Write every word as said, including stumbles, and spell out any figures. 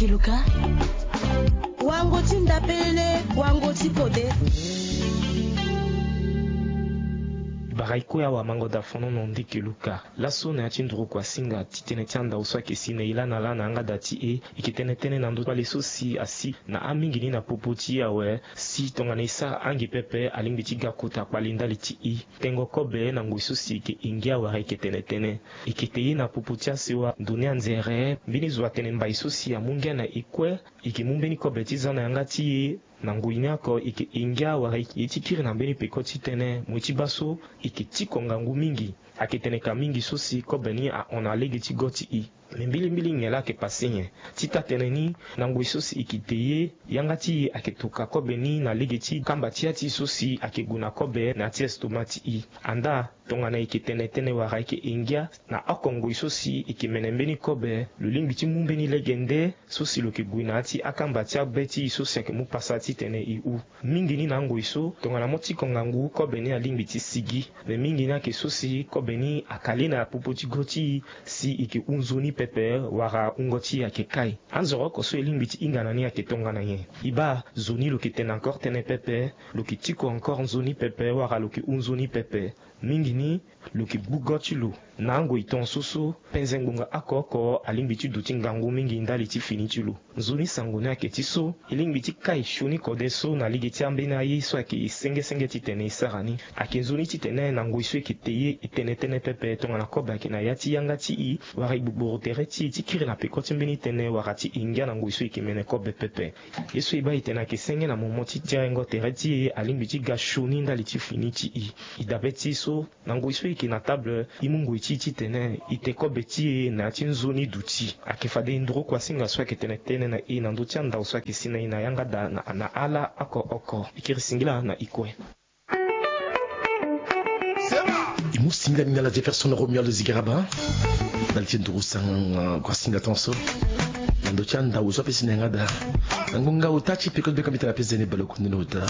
Luka. Wango ti ndapele, wango ti kode. Bara ikue awa mango da fono no ndeke luka. Laso na ya ti nduru kua singa ti tene ti andau so ayeke si na e lana lana yanga da ti e. E yeke tene tënë na ndö ti kpale so si asi na amingi ni na popo ti e awe. Si tongana e sara ange pepe alingbi ti ga kota kpale ndali ti e. Tengo kobe na ngoi so si e yeke ingia wala e yeke tene tënë. E yeke te ye na popo ti asewa ndo ni anzere mbeni zo atene mbai so si amu ngia na e kue. E yeke mu mbeni kobe ti za na yanga ti e. Na ngoi ni oko e yeke ingia wala e yeke ye ti kiri na mbeni peko ti tënë. Moi ti baa so e yeke tiko ngangu mingi. Ayeke tene ka mingi so si kobe ni ahon na lege ti go ti e. Me mbilimbili nyen laa ayeke pase nyen? Ti taa-tënë ni, na ngoi so si e yeke te ye, yanga ti e ayeke toka kobe ni na lege ti kamba ti ya ti e so si ayeke gue na kobe na ya ti estoma ti e. Andaa, tongana e yeke tene tënë wala e yeke ingia na oko ngoi so si e yeke mene mbeni kobe, lo lingbi ti mu mbeni legende so si lo yeke gue na ya ti akamba ti abe ti e so si ayeke mu pasa titene e hu. Mingi ni na angoi so tongana mo tiko ngangu kobe ni alingbi ti sigi. Me mingi ni ayeke so si kobe ni akali na popo ti go ti e si e yeke hu nzoni pepe wala wungo ti e ayeke kai. Anzoro oko so e lingbi ti hinga na ni ayeke tongana nyen? E baa zo ni lo yeke tene encore tënë pepe, lo yeke tiko encore nzoni pepe wala lo yeke hu nzoni pepe. Mingi ni lo yeke gbu go ti lo. Na angoi tongaso so penze ngbonga oko oko alingbi ti duti ngangu mingi ndali ti fini ti lo. Nzoni sango ni ayeke ti so e lingbi ti kai sioni kode so na lege ti ambeni aye so ayeke e senge senge titene e sara ni. Ayeke nzoni titene na ngoi so e yeke te ye e tene tënë pepe tongana kobe ayeke na ya ti yanga ti e wala e gbogboro tere ti e ti kiri na peko ti mbeni tënë wala ti e ngia na ngoi so e yeke mene kobe pepe. Ye so e baa e tene ayeke senge na momo ti tirengo tere ti e alingbi ti ga sioni ndali ti fini ti e. E dabe ti e so na ngoi so e yeke na table e mu ngoi ti e titene e te kobe ti e na ya ti nzoni duti. Ayeke fade nduru kuasinga so ayeke tene tënë na e na ndö ti andau so ayeke si na e na yanga daa na ala oko oko. E kiri singila na e kue. E mu singila ni na ala Jefferson Romuald Zigaraba. Ndali ti nduru sang kuasinga tongaso na ndö ti andau so ape si na yanga daa. Na ngonga ota ti peko ti beka mbi tene ape zene balekundu na ota.